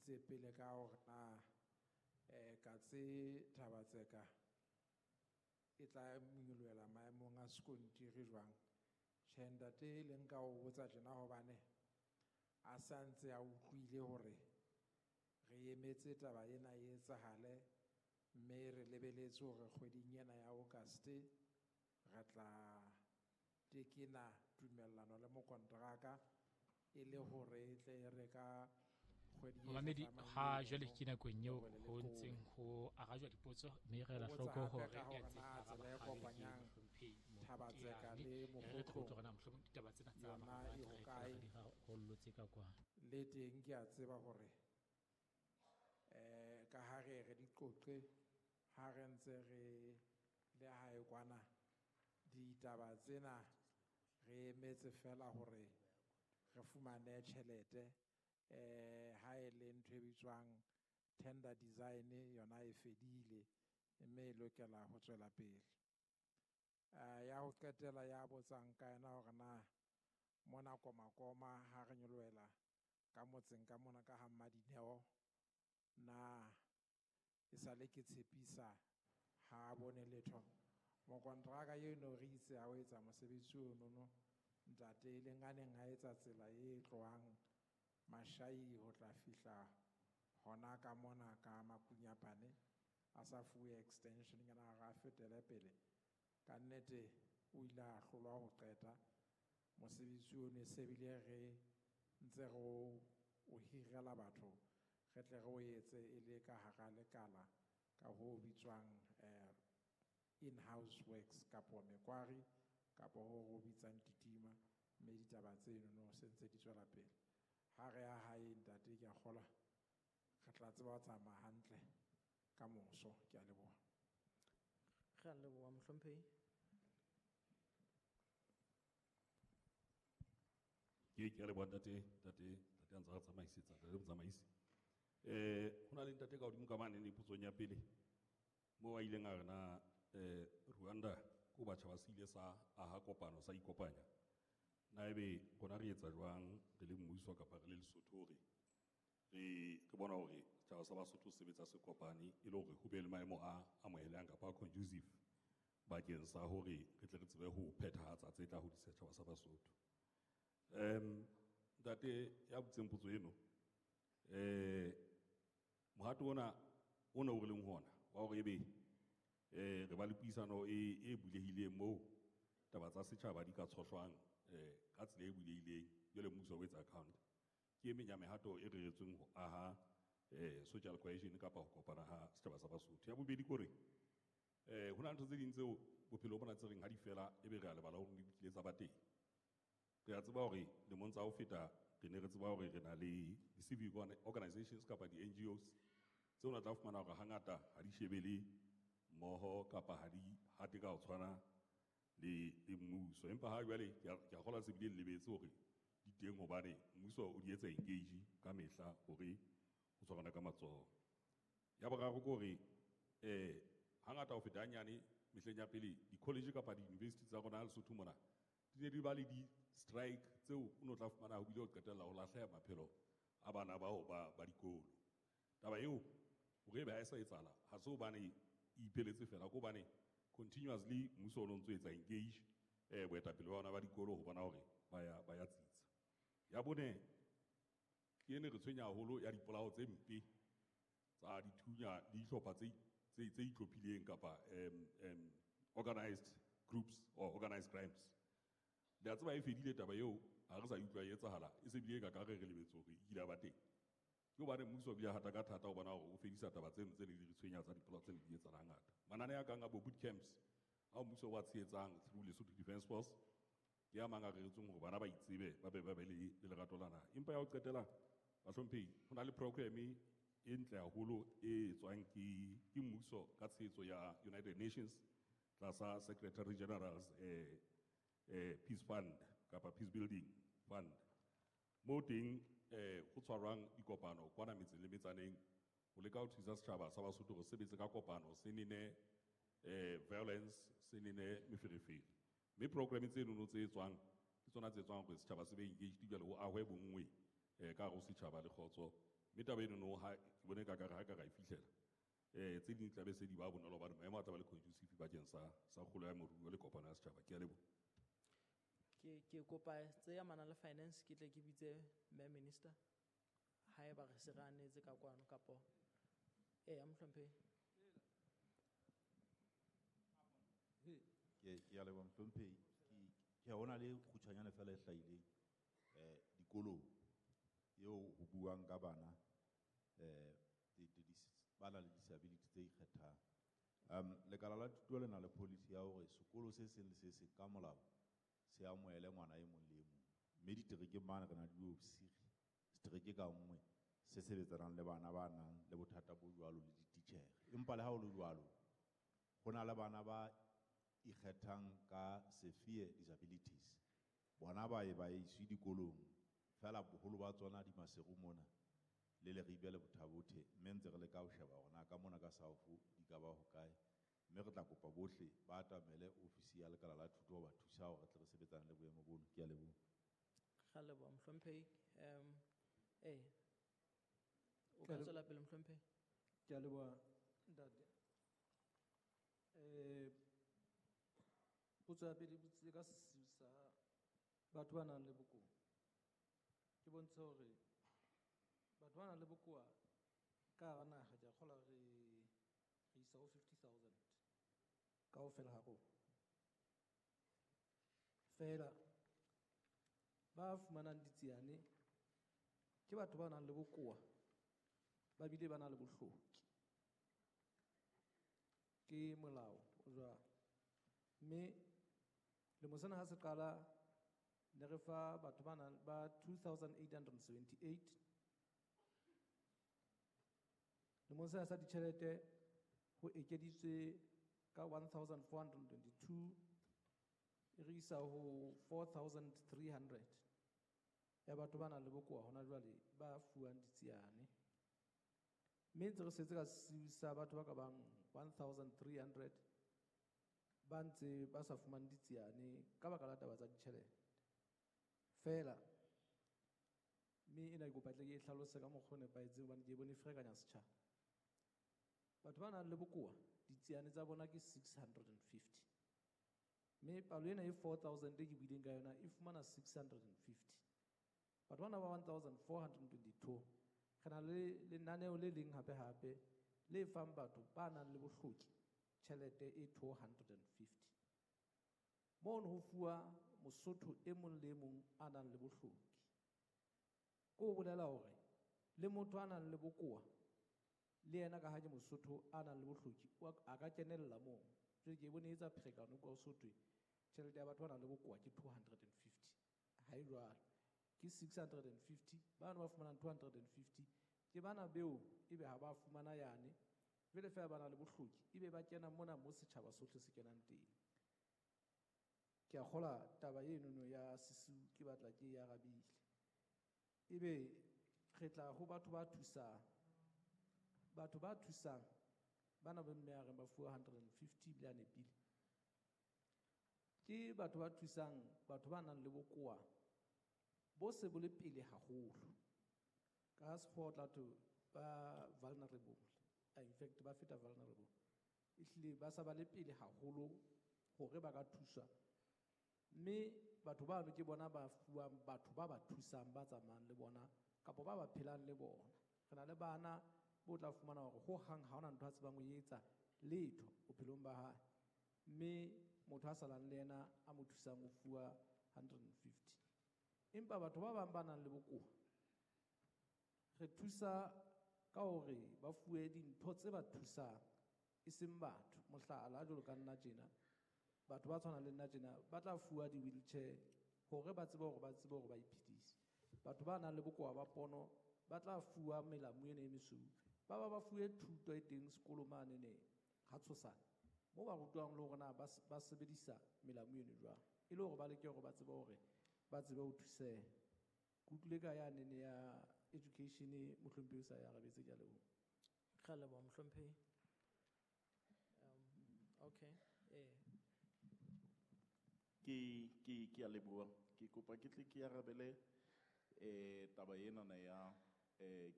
Botsitse pele ka hore na Katse Thaba-Tseka e tla nyolohela maemong a sekontiri jwang. Tjhe ntate le nka o botsa tjena hobane a sa ntse a utlwile hore re emetse taba ena e etsahale mme re lebeletse hore kgweding ena ya August re tla tekena tumellano le mokonteraka e le hore e tle e re ka kgwedi e Momamedi, hlahlamang ha eno jwale ke nakong eo ho be le ho leqole. ntseng ho arajwa dipotso mme re O ela botsa hloko hape hore ka ya hore ntseng na araba tsela e ha jwale ke kopanyang mohlomphehi Thaba-Tseka Moteane. le Re re Mokhotlong tlo utlwa hore na mohlomong ditaba tsena tsa yona mahareng e re hokae. fela re di rarollotse ka kwa. Le teng ke a tseba hore ka ha re re di qoqe ha re ntse re le hae kwana ditaba tsena re emetse fela hore re fumane tjhelete ha e le ntho e bitswang tender design yona e fedile mme e lokela ho tswela pele. Ya ho qetela ya botsang ka yena hore na mona Komakoma ha re nyolohela ka motseng ka mona ka ha Mmadineo na e sale ke tshepisa ha bone letho. Mokontraka eno re itse ha o etsa mosebetsi ono ntate e leng a neng a etsa tsela e tlohang Mashai ho tla fihla hona ka mona ka Makunyapane a sa fuwe extension nyana hore a fetele pele. Ka nnete o ile a hlolwa ho qeta mosebetsi ono, se bile re ntse re o hirela batho re tle re o etse e le ka hara lekala ka ho bitswang in-house works kapo mekwari kapo ho ho bitsang titima, mme ditaba tseno no se ntse di tswela pele. Ha re ya hae ntate ke a kgolwa re tla tseba ho tsamaya hantle ka moso. Ke a leboha. Re a leboha mohlomphehi. Ke a leboha ntate, ntate, ntate a ntse a tsamaisetsa, ntate motsamaisi. Ho na le ntate ka hodimo ka mane ne potsong ya pele moo a ileng a re na Rwanda ko batjha ba se ile sa aha kopano sa ikopanya. Na ebe rona re etsa jwang re le mmuso kapa re le Lesotho hore re bona hore setjhaba sa Basotho se sebetsa se kopane e le hore ho be le maemo a amohelehang kapa a conducive bakeng sa hore re tle re tsebe ho phethahatsa tse tla hodisa setjhaba sa Basotho. Ntate ya butseng potso eno, mohato ona o ne o re leng hona wa hore ebe re ba le puisano e bulehileng moo taba tsa setjhaba di ka tshohlwang ka tsela e bulehileng jwale mmuso o etsa account. Ke e meng ya mehato e reretsweng ho aha social cohesion kapa ho kopana ha setjhaba sa Basotho. Ya bobedi ke hore ho na le ntho tse ding tseo bophelo bona tse reng ha di fela ebe re a lebala hore di kile tsa ba teng. Re a tseba hore lemong tsa ho feta re ne re tseba hore re na le di-civic organizations kapa di-N G Os tseo na tla fumana hore hangata ha di shebele mmoho kapa ha di hate ka ho tshwana le mmuso. Empa ha jwale ke a kgolwa se bile le lebetse hore di teng hobane mmuso o di etsa engage ka mehla hore ho tshwarana ka matsoho. Ya boraro ke hore hangata ho feta hanyane mehleng ya pele di-college kapa di-university tsa rona Lesotho mona di ne di ba le di-strike tseo o no tla fumana ho bile ho qetella ho lahleha maphelo a bana bao ba dikolo. Taba eo hore ebe ha e sa etsahala ha se hobane e ipheletse fela, ke hobane continuously mmuso o no ntso etsa engage boetapele ba bona ba dikolo ho bona hore ba ya tsitsa. Ya bone ke ene re tshwenya haholo ya dipolao tse mpe tsa dithunya le dihlopha tse itlhophileng kapa organized groups or organized crimes. Le a tseba e fedile taba eo, ha re sa utlwa e etsahala, e se bile ka ka re re lebetse hore e kile ya ba teng. Ke hobane mmuso o bile hata ka thata ho bona hore o fedisa taba tseno tse ne di re tshwenya tsa dipolao tse ne di etsahala hangata. Manane a kang a bo boot camps ao mmuso wa tshehetsang through Lesotho Defence Force ke a mang a reretsweng hore bana ba itsebe ba be ba be le lerato la naha. Empa ya ho qetela bahlomphehi, ho na le program e ntle haholo e etswang ke mmuso ka tshehetso ya United Nations tlasa Secretary General's Peace Fund kapa Peace Building Fund. Moo teng ho tshwarwang dikopano kwana metseng le metsaneng ho leka ho thusa setjhaba sa Basotho hore sebetse ka kopano se nene violence se nene meferefere. Mme program tseno tse etswang ke tsona tse etswang hore setjhaba se be engaged jwale ho ahwe bonngwe ka hare ho setjhaba le kgotso. Mme taba enono ha ke bone ka kare ha ka ra e fihlela tse ding di tla be se di ba bonolo hobane maemo a tla ba le conducive bakeng sa kgolo ya moruo le kopano ya setjhaba. Ke a leboha. Ke kopa tse amanang le finance ke tle ke bitse mme minister haeba re se re anetse ka kwano kapo eya mohlomphehi. Ke a leboha mohlomphehi. Ke hona le kgutshwanyane fela e hlahileng dikolong eo ho buang ka bana ba nang le disability tse ikgethang. Lekala la thuto le na le policy ya hore sekolo se seng le se seng ka molao se amohele ngwana e mong le e mong. Mme diterekeng mane re na le diofisiri, setereke ka nngwe se sebetsanang le bana ba nang le bothata bo jwalo le dititjhere. Empa le ha ho le jwalo, ho na le bana ba ikgethang ka severe disabilities. Bona ba e ba iswe dikolong, fela boholo ba tsona di Maseru mona le Leribe le Botha-Bothe, mme ntse re leka ho sheba hore na ka mona ka South di ka ba hokae. Mme re tla kopa bohle ba atamele ofisi ya lekala la thuto ho ba thusa hore re tle re sebetsane le boemo bono. Ke a leboha. Re a leboha mohlomphehi. O ka tswela pele mohlomphehi. Ke a leboha ntate. Potso ya pele e botsitse ka sesiu sa batho ba nang le bokowa. Ke bontshe hore batho ba nang le bokowa ka hara naha ke a kgolwa re isa ho 50,000 kaofela ha rona. Feela ba fumanang ditsiane ke batho ba nang le bokowa ba bile ba na le bohloki. Ke molao o jwalo. Mme lemo sena ha se qala ne re fa batho ba nang ba 2878. Lemong sena sa ditjhelete ho ekeditswe ka 1422, e re isa ho 4300 ya batho ba nang le bokowa hona jwale ba fuwang ditsiane. Mme ntse re setse ka sesiu sa batho ba ka bang 1300 ba ntse ba sa fumane ditsiane ka baka la taba tsa ditjhelete. Feela, mme ena ke kopa tle ke e hlalose ka mokgwa o nepahetseng hobane ke e bone e ferekanya setjhaba. Batho ba nang le bokowa, ditsiane tsa bona ke 650. Mme palo ena e 4000 e ke buileng ka yona e fumana 650. Batho bana ba 1422, re na le lenaneo le leng hape hape le fang batho ba nang le bohloki tjhelete e 250. Mono ho fuwa Mosotho e mong le e mong a nang le bohloki. Ke ho bolela hore le motho a nang le bokowa le yena ka ha ke Mosotho a nang le bohloki, a ka kenella moo. Jwale ke bone e etsa pherekano kwa ho sothwe tjhelete ya batho ba nang le bokowa ke 250. Ha e jwalo. Ke 650, bano ba fumanang 250, ke bana beo ebe ha ba fumana yane, jwale feela ba na le bohloki, ebe ba kena mona mo setjhaba sohle se kenang teng. Ke a kgola taba enono ya sesiu ke batla ke e arabile. Ebe re tla ho batho ba thusang. Batho ba thusang, bana ba mme a reng ba fuwa 150 ebile a nepile. Ke batho ba thusang, batho ba nang le bokowa bo se bo le pele haholo. Ka sekgowa o tla thwe ba vulnerable. In fact, ba feta vulnerable. Ehlile ba sa ba le pele haholo hore ba ka thuswa. Mme batho bano ke bona ba fuwang batho ba ba thusang ba tsamayang le bona kapa ba ba phelang le bona. Re na le bana bo tla fumana hore ho hang ha hona ntho a tsebang ho etsa letho bophelong ba hae. Mme motho a salang le yena a mo thusang o fuwa 150. Empa batho ba bang ba nang le bokowa re thusa ka hore ba fuwe dintho tse ba thusang e seng batho. Mohlala jwalo ka nna tjena, batho ba tshwanang le nna tjena ba tla fuwa di-wheelchair hore ba tsebe hore ba tsebe hore ba iphedise. Batho ba nang le bokowa ba pono ba tla fuwa melamu ena e mesweu, ba ba ba fuwe thuto e teng sekolo mane ne ha Tshosane moo ba rutwang le hore na ba sebedisa melamu eno jwang, e le hore ba leke hore ba tsebe hore ba tsebe ho thuseha. Ke utlwile ka ya nene ya education mohlomphehi o sa e arabetse, ke a leboha. Re a leboha mohlomphehi. Okay. Ke a leboha. Ke kopa ke tle ke arabele taba enana ya